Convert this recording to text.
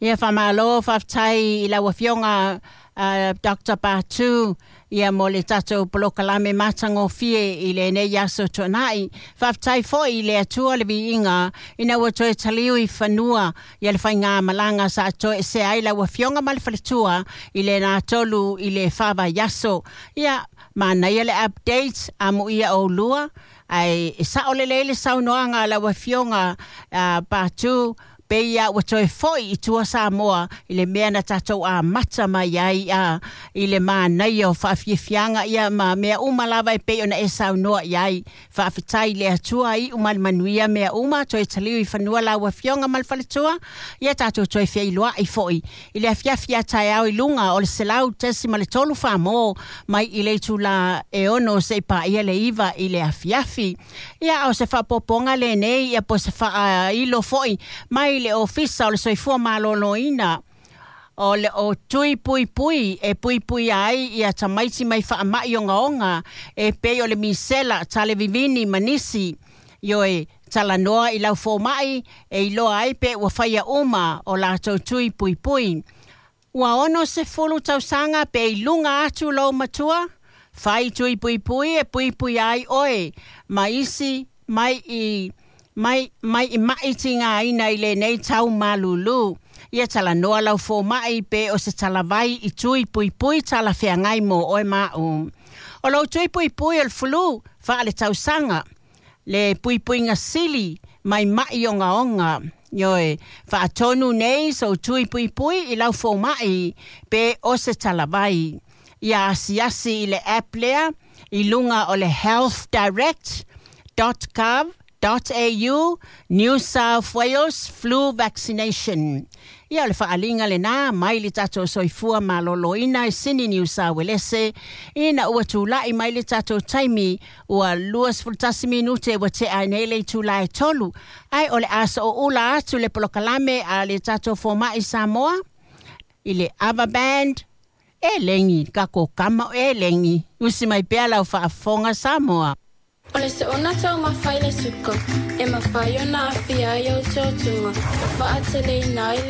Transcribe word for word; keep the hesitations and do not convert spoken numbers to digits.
Ia faamalo, faafetai i lau Afioga uh, Doctor Patu, ia mo le tatou polokalame matagofie i lenei aso tuanai. Faafetai foi i le Atua le viiga ina ua toe taliu i fanua ia le faigamalaga sa toesea ai lau Afioga ma le faletua i le tolu i le fa vaiaso. Ia manaia le update amuia oulua, ae e sao lelei le saunoaga a lau Afioga uh, Patu, pe ia ua toe foi i tua Samoa i le mea na tatou amata mai ai a i le manaia o faafiafiaga ia ma mea uma lava e pei ona e saunoa i ai. Faafetai i le Atua, iu ma le manuia mea uma, toe taliu i fanua lau Afioga ma le faletua. Ia tatou toe feiloai foi i le afiafi a taeao i luga o le selau tesi ma le tolu famo mai i le itula e ono seia paia le iva i le afiafi. Ia o se faaopoopoga lenei ia po se faailo foi mai le Ofisa o le Soifua Maloloina, o le o tui pui pui e pui pui ai ia tamaiti mai faamai ogaoga e pei o le misela, tale vivini ma nisi. Ioe, talanoa i lau fomai e iloa ai pe ua faia uma o latou tui pui pui. Ua ono sefulu tausaga pe i luga atu lou matua, fai tui pui pui e pui pui ai oe ma isi mai i mai mai i mai tigaina i lenei tau malulu. Ia talanoa lau fomai pe o se talavai i tui pui pui talafeagai mo oe ma'u. O lou tui pui pui o le flu faale tausaga, le puipuiga sili mai mai ogaoga. Ioe, faatonu nei sou tui puipui i lau fomai pe o se talavai. Ia asiasi i le app lea i luga o le healthdirect dot gov dot au New South Wales flu vaccination. Ia o le faaliga lenā mai le tatou Soifua Maloloina i Sini Niu Sa Uelese, ina ua tula'i mai le tatou taimi ua luasefulutasi minute ua te'a ai nei le itulā e tolu, ae o le a so'oula atu le polokalame a le tatou foma'i Samoa i le Ava Band e legi kako kama e legi. Usi mai pea lau faafofoga Samoa. O le soona taumafa i le suka, e mafai ona aafia ai ou tuatuga, ma faateleina ai.